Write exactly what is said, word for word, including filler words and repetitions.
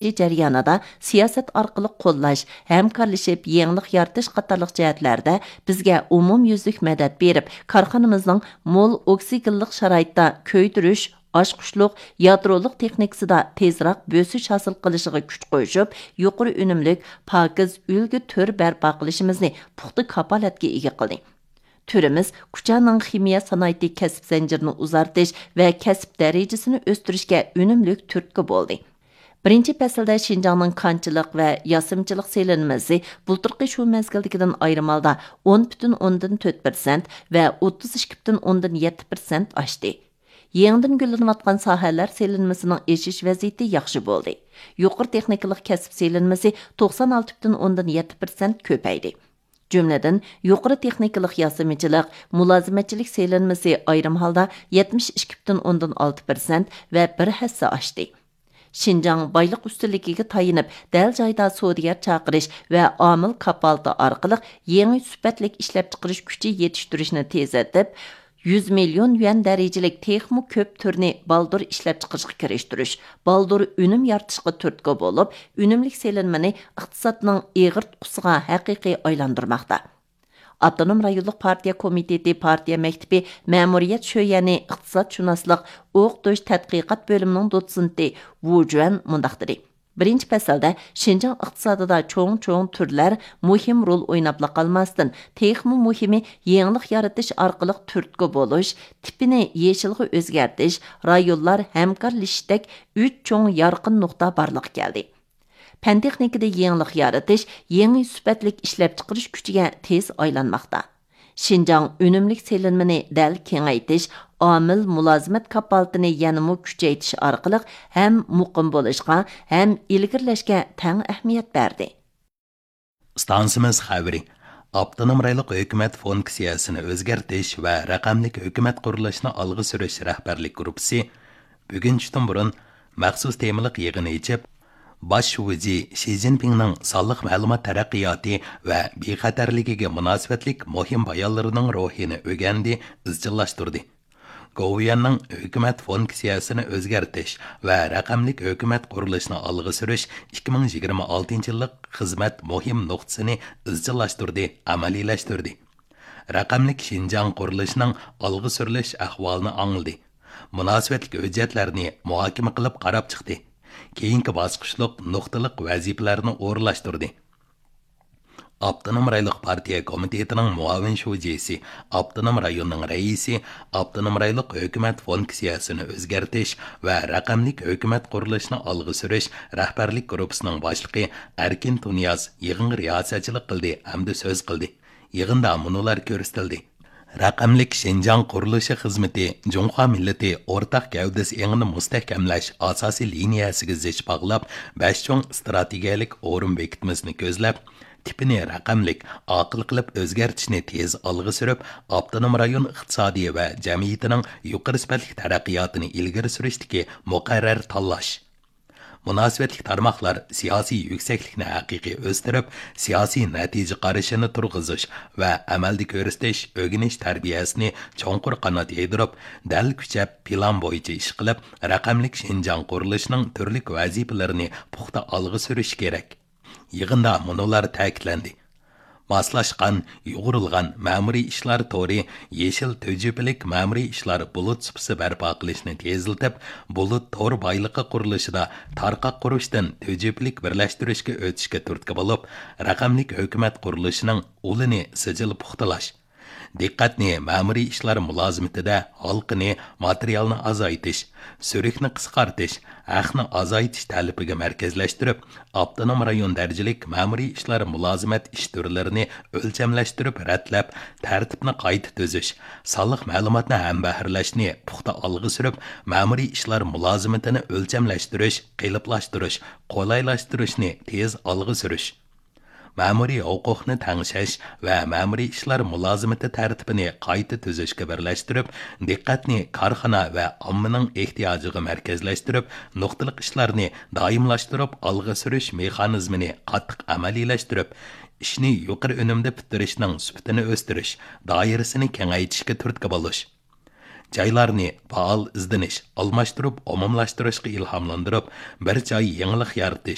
جەريانىدا سىياسەت ئارقىلىق قوللاش، ھەمكارلىشىپ يېڭىلىق يارىتىش قاتارلىق جەھەتلەردە بىزگە ئومۇميۈزلۈك مەدەت بېرىپ، كارخانىمىزنىڭ مول ئوكسىگېنلىق شارائىتتا كۆيدۈرۈش، ئاچقۇچلۇق، يادرولۇق تېخنىكىسىدا تېزراق بۆسۈش ھاسىل قىلىشىغا كۈچ قوشۇپ، يۇقىرى ئۈنۈملۈك، پاكىز ئۈلگە تۈر بەرپا قىلىشىمىزنى پۇختا كاپالەتكە ئىگە قىلدى. تۈرىمىز كۇچانىڭ خىمىيە سانائىتى كەسىپ زەنجىرىنى ئۇزارتىش ۋە كەسىپ دەرىجىسىنى ئۆستۈرۈشكە ئۈنۈملۈك تۈرتكە بولدى. بىرىنچى پەسىلدە شىنجاڭنىڭ كانچىلىق ۋە ياسىمىچىلىق سېلىنمىسى بۇلتۇرقى شۇ مەزگىلدىكىدىن ئايرىم ھالدا ئون پۈتۈن ئوندىن تۆت پىرسەنت ۋە ئوتتۇز ئىككى پۈتۈن ئوندىن يەتتە پىرسەنت ئاشتى. يېڭىدىن گۈللىنىۋاتقان ساھەلەر سېلىنمىسىنىڭ ئېشىش ۋەزىيىتى ياخشى بولدى. يۇقىرى تېخنىكىلىق كەسىپ سېلىنمىسى توقسان ئالتە پۈتۈن ئوندىن يەتتە پىرسەنت كۆپەيدى. جۈملىدىن، يۇقىرى تېخنىكىلىق ياسىمىچىلىق، مۇلازىمەتچىلىك سېلىنمىسى ئايرىم ھالدا يەتمىش ئىككى پۈتۈن ئوندىن ئالتە پىرسەنت ۋە بىر ھەسسە ئاشتى. شىنجاڭ بايلىق ئۈستۈنلۈكىگە تايىنىپ، دەل جايدا سودىگەر چاقىرىش ۋە ئامىل كاپالىتى ئارقىلىق يېڭى سۈپەتلىك ئىشلەپچىقىرىش كۈچى يېتىشتۈرۈشنى تېزلىتىپ، يۈز مىليون يۈەن دەرىجىلىك تېخىمۇ كۆپ تۈرنى بالدۇر ئىشلەپچىقىرىشقا كىرىشتۈرۈش، بالدۇر ئۈنۈم يارىتىشقا تۈرتكە بولۇپ، ئۈنۈملۈك سېلىنمىنى ئىقتىسادنىڭ ئېغىر تۇتقىسىغا ھەقىقىي ئايلاندۇرماقتا. ئاپتونوم رايونلۇق پارتىيە كومىتېتى پارتىيە مەكتىپى مەمۇرىيەت شۆيەنى ئىقتىسادشۇناسلىق ئوقۇتۇش تەتقىقات بۆلۈمىنىڭ دوتسېنتى ۋۇ جۈەن مۇنداق دېدى: بىرىنچى پەسىلدە شىنجاڭ ئىقتىسادىدا چوڭ-چوڭ تۈرلەر مۇھىم رول ئويناپلا قالماستىن، تېخىمۇ مۇھىمى يېڭىلىق يارىتىش ئارقىلىق تۈرتكە بولۇش، تىپىنى يېشىلغا ئۆزگەرتىش، رايونلار ھەمكارلىشىشتەك ئۈچ چوڭ يارقىن نۇقتا بارلىققا كەلدى. پەن-تېخنىكىدا يېڭىلىق يارىتىش يېڭى سۈپەتلىك ئىشلەپچىقىرىش كۈچىگە تېز ئايلانماقتا. شىنجاڭ ئۈنۈملۈك سېلىنمىنى دەل كېڭەيتىش، ئامىل مۇلازىمەت كاپالىتىنى يەنىمۇ كۈچەيتىش ئارقىلىق ھەم مۇقىم بولۇشقا، ھەم ئىلگىرىلەشكە تەڭ ئەھمىيەت بەردى. ئىستانسىمىز خەۋىرى. ئاپتونوم رايونلۇق ھۆكۈمەت فۇنكسىيەسىنى ئۆزگەرتىش ۋە رەقەملىك ھۆكۈمەت قۇرۇلۇشىنى ئالغا سۈرۈش رەھبەرلىك گۇرۇپپىسى بۈگۈن چۈشتىن بۇرۇن مەخسۇس تېمىلىق يىغىن ئېچىپ، باش شۇجى شى جىنپىڭنىڭ سانلىق مەلۇمات تەرەققىياتى ۋە بىخەتەرلىكىگە مۇناسىۋەتلىك مۇھىم بايانلىرىنىڭ روھىنى ئۆگەندى، ئىزچىللاشتۇردى. گوۋۇيۈەننىڭ ھۆكۈمەت فۇنكسىيەسىنى ئۆزگەرتىش ۋە رەقەملىك ھۆكۈمەت قۇرۇلۇشىنى ئالغا سۈرۈش ئىككى مىڭ يىگىرمە ئالتىنچى يىللىق خىزمەت مۇھىم نۇقتىسىنى ئىزچىللاشتۇردى، ئەمەلىيلەشتۈردى. رەقەملىك شىنجاڭ قۇرۇلۇشىنىڭ ئالغا سۈرۈلۈش ئەھۋالىنى ئاڭلىدى. مۇناسىۋەتلىك ھۆججەتلەرنى مۇھاكىمە قىلىپ قاراپ چىقتى. كېيىنكى باسقۇچلۇق نۇقتىلىق ۋەزىپىلەرنى ئورۇنلاشتۇردى. ئاپتونوم رايونلۇق پارتىيە كومىتېتىنىڭ مۇئاۋىن شۇجىسى، ئاپتونوم رايوننىڭ رەئىسى، ئاپتونوم رايونلۇق ھۆكۈمەت فۇنكسىيەسىنى ئۆزگەرتىش ۋە رەقەملىك ھۆكۈمەت قۇرۇلۇشىنى ئالغا سۈرۈش رەھبەرلىك گۇرۇپپىسىنىڭ باشلىقى ئەركىن تۇنىياز يىغىنغا رىياسەتچىلىك قىلدى ھەمدە سۆز قىلدى. يىغىندا مۇنۇلار كۆرسىتىلدى. رەقەملىك شىنجاڭ قۇرۇلۇشى خىزمىتى جۇڭخۇا مىللىتى ئورتاق گەۋدىسى ئېڭىنى مۇستەھكەملەش ئاساسىي لىنىيەسىگە زىچ باغلاپ، بەش چوڭ ئىستراتېگىيەلىك ئورۇن بېكىتمىسىنى كۆزلەپ، تىپىنى رەقەملىك، ئاقىل قىلىپ ئۆزگەرتىشنى تېز ئالغا سۈرۈپ، ئاپتونوم رايون ئىقتىسادى ۋە جەمئىيىتىنىڭ يۇقىرى سۈپەتلىك تەرەققىياتىنى ئىلگىرى سۈرۈشتىكى مۇقەررەر تاللاش. مۇناسىۋەتلىك تارماقلار سىياسىي يۈكسەكلىكنى ھەقىقىي ئۆستۈرۈپ، سىياسىي نەتىجە قارىشىنى تۇرغۇزۇش ۋە ئەمەلدە كۆرسىتىش، ئۆگىنىش تەربىيەسىنى چوڭقۇر قانات يايدۇرۇپ، دەل كۈچەپ پىلان بويىچە ئىش قىلىپ، رەقەملىك شىنجاڭ قۇرۇلۇشىنىڭ تۈرلۈك ۋەزىپىلىرىنى پۇختا ئالغا سۈرۈشى كېرەك. يىغىندا مۇنۇلار تەكىتلەندى. ماسلاشقان، يۇغۇرۇلغان مەمۇرىي ئىشلار تورى، يېشىل تۈجۈپىلىك مەمۇرىي ئىشلار بۇلۇت سۇپىسى بەرپا قىلىشنى تېزلىتىپ، بۇلۇت تور بايلىقى قۇرۇلۇشىدا تارقاق قۇرۇشتىن تۈجۈپىلىك بىرلەشتۈرۈشكە ئۆتۈشكە تۈرتكە بولۇپ، رەقەملىك ھۆكۈمەت قۇرۇلۇشىنىڭ ئۇلىنى سىجىل پۇختىلاش، دىققەتنى مەمۇرىي ئىشلار مۇلازىمىتىدە ھالقىنى، ماتېرىيالنى ئازايتىش، سۈرۈكنى قىسقارتىش، ھەقنى ئازايتىش تەلىپىگە مەركەزلەشتۈرۈپ، ئاپتونوم رايون دەرىجىلىك مەمۇرىي ئىشلار مۇلازىمەت ئىش تۈرلىرىنى ئۆلچەملەشتۈرۈپ رەتلەپ، تەرتىپنى قايتا تۈزۈش، سانلىق مەلۇماتنى ھەمبەھىرلەشنى پۇختا ئالغا سۈرۈپ، مەمۇرىي ئىشلار مۇلازىمىتىنى ئۆلچەملەشتۈرۈش، قېلىپلاشتۇرۇش، قولايلاشتۇرۇشنى تېز ئالغا سۈرۈش. مەمۇرىي ھوقۇقنى تەڭشەش ۋە مەمۇرىي ئىشلار مۇلازىمىتى تەرتىپىنى قايتا تۈزۈشكە بىرلەشتۈرۈپ، دىققەتنى كارخانا ۋە ئاممىنىڭ ئېھتىياجىغا مەركەزلەشتۈرۈپ، نۇقتىلىق ئىشلارنى دائىملاشتۇرۇپ ئالغا سۈرۈش مېخانىزمىنى قاتتىق ئەمەلىيلەشتۈرۈپ، ئىشنى يۇقىرى ئۈنۈمدە پۈتتۈرۈشنىڭ سۈپىتىنى ئۆستۈرۈش، دائىرىسىنى كېڭەيتىشكە تۈرتكە بولۇش. جايلارنى پائال ئىزدىنىش، ئالماشتۇرۇپ ئومۇملاشتۇرۇشقا ئىلھاملاندۇرۇپ، بىر جاي يېڭىلىق يارىتىش،